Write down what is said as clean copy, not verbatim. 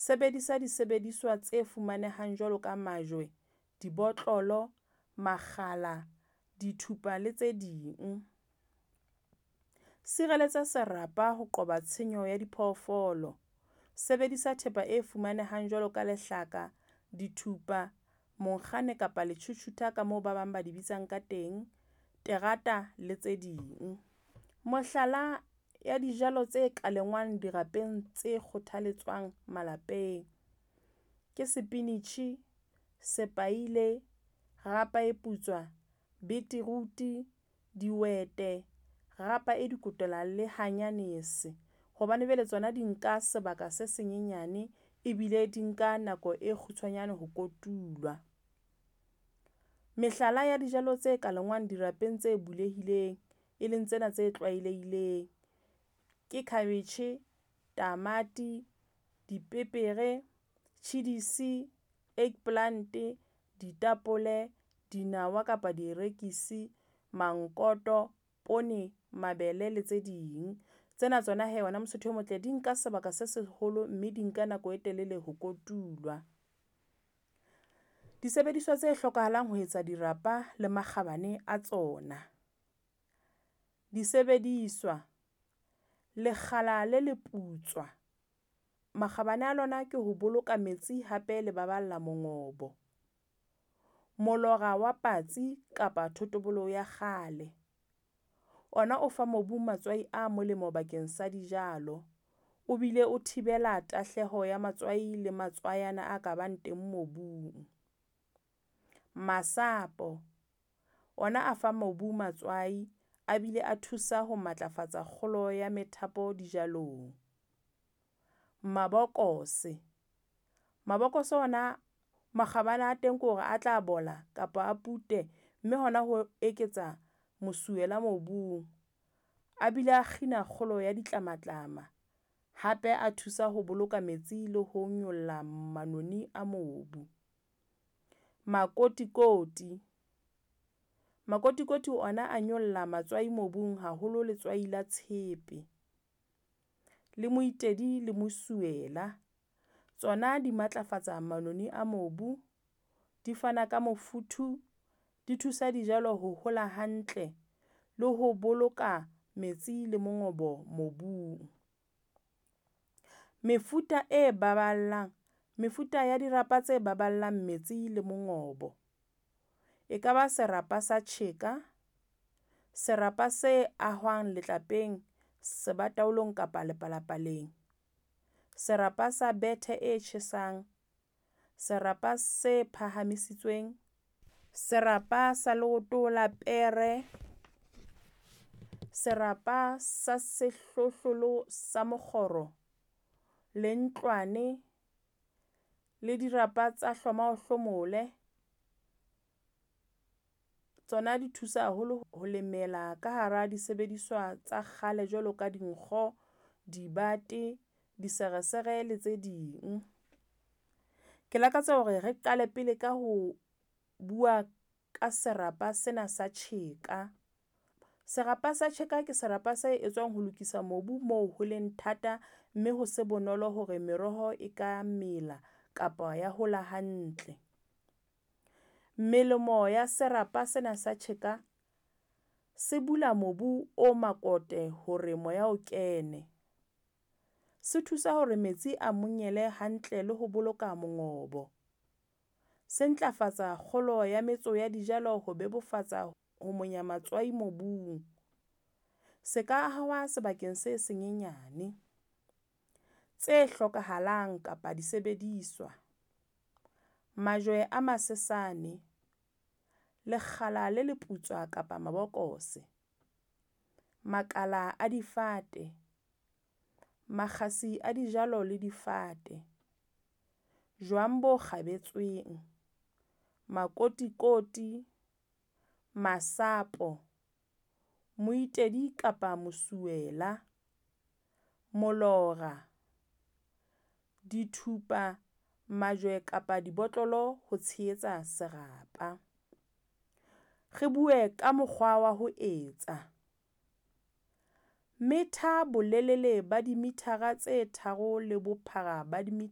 Sebedisa disebediswa tse fumanehang jwalo ka majwe, dibotlolo, makgala, dithupa le tse ding. Sireletsa serapa ho qoba tshenyo ya diphoofolo. Sebedisa thepa e fumanehang jwalo ka lehlaka, dithupa, monkgane kapa le tjhutjhutha ka moo ba bang ba di bitsang ka teng, terata le tse ding. Mohlala ya dijalo tse ka lengwang dirapeng tse kgothaletswang malapeng ke sepinitjhi, sepaile, rapa e putswa, beetroot, dihwete, rapa e dikotela le hanyanese. Hobane jwale tsona di nka sebaka se senyenyane ebile di nka nako e kgutshwanyane ho kotulwa. Mehlala ya dijalo tse ka lengwang dirapeng tse bulehileng, e leng tsena tse tlwaelehileng ke cabbage, tamati, dipepere, tjhidisi, eggplant, ditapole, dinawa kapa dierekisi, mankoto, poone, mabele le tse ding. Tsena tsona he wena Mosotho o motle di nka sebaka se seholo mme di nka nako e telele ho kotulwa. Disebediswa tse hlokahalang ho etsa dirapa le makgabane a tsona. Disebediswa, lekgala le leputswa, makgabane a lona ke ho boloka metsi hape le baballa mongobo. Molora wa patsi kapa thotobolo ya kgale, ona o fa mobu matswai a molemo bakeng sa dijalo. O bile o thibela tahleho ya matswai le matswaiana a ka bang teng mobung. Masapo, ona a fa mobu matswai a bile a thusa ho matlafatsa kgolo ya methapo dijalong. Mabokose, mabokose ona makgabane a teng ke hore a tla bola kapa a pute, mme hona ho eketsa mosuwela mobung. A bile a kgina kgolo ya ditlamatlama, hape a thusa ho boloka metsi le ho nyolla manoni a mobu. Makotikoti, makotikoti ona a nyolla matswai mobung haholo letswai la tshepe. Le moitedi le mosuwela, tsona di matlafatsa manoni a mobu, di fana ka mofuthu, di thusa dijalo ho hola hantle le ho boloka metsi le mongobo mobung. Mefuta e baballang, mefuta ya dirapa tse baballang metsi le mongobo. E kaba serapa sa tjheka, serapa se ahwang letlapeng, sebataolong kapa lepalapaleng. Serapa sa bethe e tjhesang, serapa se phahamisitsweng, serapa sa leoto la pere, serapa sa sehlohlolo sa mokgoro le ntlwane le dirapa tsa hloma o hlomole. Tsona di thusa haholo ho lemela ka hara disebediswa tsa kgale jwalo ka dinkgo, dibate, diseresere le tse ding. Ke lakatsa hore re qale pele ka ho bua ka serapa sena sa tjheka. Serapa sa tjheka ke serapa se etswang ho lokisa mobu moo ho leng thata mme ho se bonolo hore meroho e ka mela kapa ya hola hantle. Melemo ya serapa sena sa tjheka, se bula mobu o makote hore moya o kene. Se thusa hore metsi a monyele hantle le ho boloka mongobo. Se ntlafatsa kgolo ya metso ya dijalo ho bebofatsa ho monya matswai mobung. Se ka ahwa sebakeng se senyenyane. Tse hlokahalang kapa disebediswa, majwe a masesane, lekgala le leputswa kapa mabokose, makala a difate, makgasi a dijalo le difate, jwang bo kgabetsweng, makotikoti, masapo, moitedi kapa mosuwela, molora, dithupa, majwe kapa dibotlolo ho tshehetsa serapa. Re bue ka mokgwa wa ho etsa. Metha bolelele ba dimethara tse tharo le bophara ba di